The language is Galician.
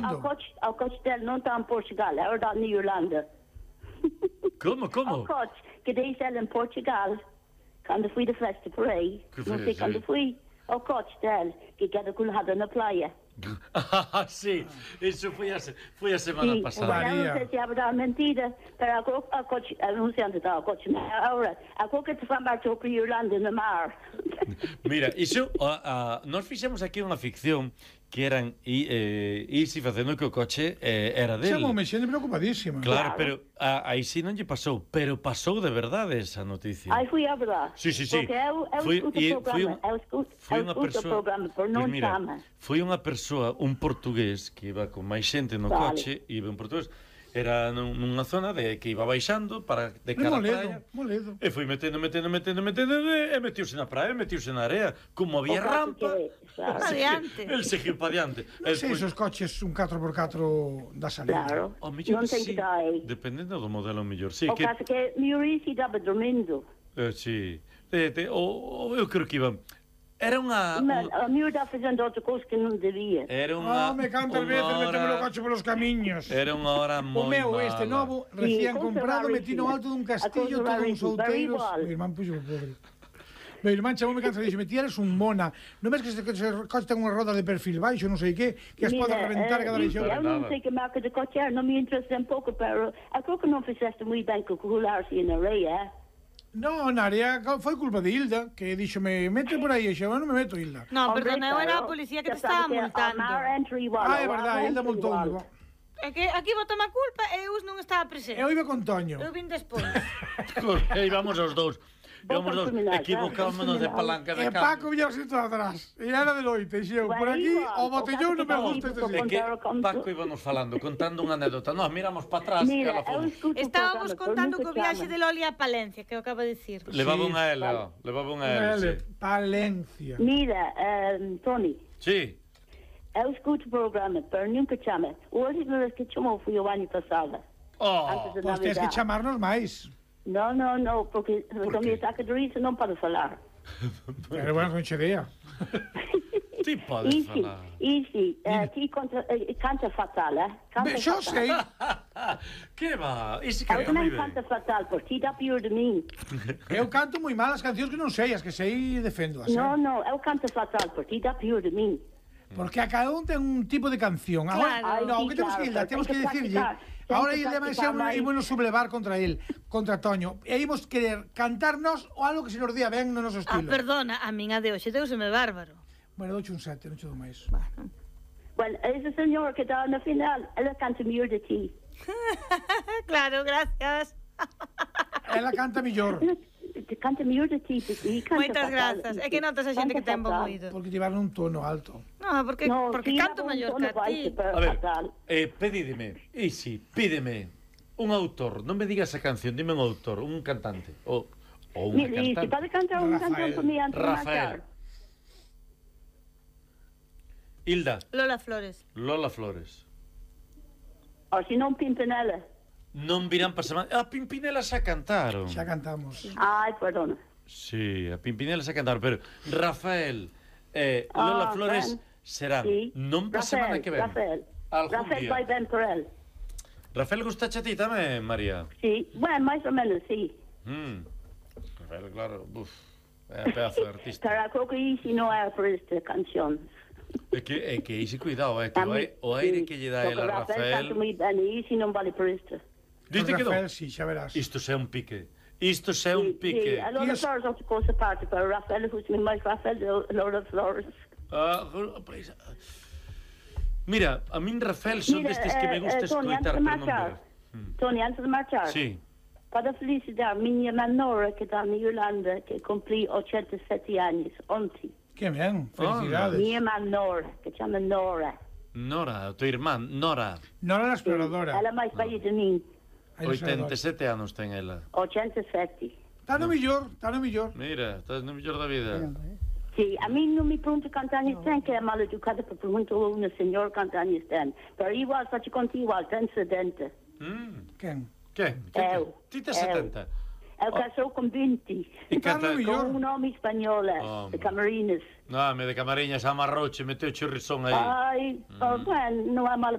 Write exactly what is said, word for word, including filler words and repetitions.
ao coche, ao coche dele non está en Portugal, é está na Irlanda. Como, como? Ao coche, que diz ela em Portugal, quando fui de festa por aí, não sei quando fui, ao coche dele, que queda colado na praia. Ah, sí, eso foi a, foi a semana sí, pasada. María. Non sei se é verdade mentira, pero a coche, non sei onde está o coche, agora, a coche te fan marchou para Irlanda na mar. Mira, iso, a, a, nós fixemos aquí unha ficción que eran e eh, Isi facendo que o coche eh, era dele. Xa me xente preocupadísima. Claro, claro. Pero a, a Isi non lle pasou, pero pasou de verdade esa noticia. Ai, foi a verdade. Sí, sí, sí. Porque eu, eu foi, escuto e, o programa, eu escuto, foi eu unha escuto persoa, o programa, por non pues mira, chama. Foi unha persoa, un portugués, que iba con máis xente no vale. coche, iba un portugués, era nunha zona de que iba baixando para de cara moledo, a praia. Moledo. E foi metendo, metendo, metendo, metendo e metiuse na praia, metiuse na area, como había rampa. Para diante. El seguiu para diante. Non sei esos coches un catro por catro da salida. Claro. O mellor non ten sí, que dar aí. dependendo do modelo mellor. Sí, o que caso que mi Urisi daba dormindo. Eh, sí. De, de, o, o, eu creo que iba. Era unha... Mas a miúda está facendo outra cousa que non debía. Era unha... Ah, me cantas veces hora... metemos o coche polos camiños. Era unha hora moi mala. O meu, este novo, recién sí, comprado, metí no alto dun castillo, todos uns outeiros. Mi irmán puxo o pobre. Meu irmán chamoume cansa e dixo, ti eres un mona. Non ves que este coche ten unha roda de perfil baixo, non sei que, que as pode reventar eh, cada leixón. Eu non sei que marca de coche era, non me interesa un pouco, pero eu creo que non fizeste moi ben que colar-se na areia, eh? No, na área foi culpa de Hilda, que díxome, mete por aí, e xa, non me meto, Hilda. No, perdona, eu era a policía que te estaba multando. Ah, é verdade, Hilda multou. É que aquí botame a culpa e eu non estaba presente. Eu iba con Toño. Eu vin despois. E íbamos os dous. Íbamos os dous, equivocámonos de palanca de cambio. E Paco viña así todo atrás. E era de loite, e xeu, por aquí, o botellón non me gusta este sitio. É que Paco íbamos falando, contando unha anécdota. Nos miramos para atrás e ela foi. Estábamos contando co viaxe de Loli a Palencia, que eu acabo de dicir. Levaba unha L, levaba unha L. Palencia. Mira, Tony. Sí. Eu escuto o programa, pero nunca chama. O último vez que chamou foi o ano passado. Oh, pois tens que chamarnos máis. No, no, no, porque Por me saca de risa non pode falar. Pero bueno, non che dea. Ti podes falar. Isi, ti canta fatal, eh? Canta fatal. Xo sei. Que va? Isi canta moi ben. Eu canta fatal, por ti dá pior de min. Eu canto moi mal as cancións que non sei, as que sei defendo. No, no, eu canto fatal, por ti dá pior de min. Porque a cada un ten un tipo de canción. Ahora, no, que temos que ir, temos que decirlle. Ahora ele vai ser ímonos sublevar contra el, contra Toño. E ímos querer cantarnos o algo que se nos día ben no noso estilo. Ah, perdona, a min a de hoxe deuseme bárbaro. Bueno, douche un sete, non che dou máis. Bueno. Bueno, esa señora que está na final, ela canta mellor de ti. Claro, gracias. Ela canta mellor. Canta mellor de ti, moitas grazas. É que notas a xente que ten bo oído. Porque llevaron un tono alto. No, porque, no, porque canto mellor que a ti. A ver, eh, pedídeme, Isi, pídeme un autor, non me digas a canción, dime un autor, un cantante, ou, ou unha cantante. Isi, pode cantar un cantante por mí antes de marchar. Hilda. Lola Flores. Lola Flores. Ou se non Pimpinela. Non virán para semana. A Pimpinela xa cantaron. Xa cantamos. Ai, perdona. Sí, a Pimpinela xa cantaron, pero Rafael eh, Lola ah, Flores ben. serán sí. non para semana que ven. Rafael, Rafael vai ben por el. Rafael gusta a ti tamén, María? Sí, bueno, máis ou menos, sí. Mm. Rafael, claro, uf, é a pedazo de artista. Pero creo que Isi non é por esta canción. É que, é que Isi, cuidado, é que o aire, o aire sí. que lle dá el a Rafael... Rafael canta moi ben e Isi non vale por isto. Diste que non? Rafael, sí, xa verás. Isto xa é un pique. Isto xa é un pique. Sí, a Lola Flores outra cousa parte, pero Rafael, gusta máis Rafael de Lola Flores. Ah, pois... Mira, a min Rafael son Mira, destes que me gusta eh, Tony, escoitar, pero non ver. Mm. Tony, antes de marchar. Sí. Para felicitar miña irmã Nora, que está na Irlanda, que cumprí ochenta e sete anos, ontem. Que ben, felicidades. Minha irmã Nora, que chama Nora. Nora, a tua irmã, Nora. Nora la exploradora. Ela é máis velha de min. oitenta e sete anos ten ela. ochenta e sete. Está no millor, está no millor. Mira, estás no millor da vida. Sí, a mí non me pergunta cantos anos ten, que é mal educada, porque perguntou a unha señora cantos anos ten. Pero igual, só te conto igual, ten setenta. Mm. Quen? Quen? Eu. Ti tes setenta? Eu casou con vinte. E canta con un nome español, oh, de Camarinas. No, me de Camariñas amarrouche, meteu churrisón aí. Ai, mm. oh, bueno, non é mal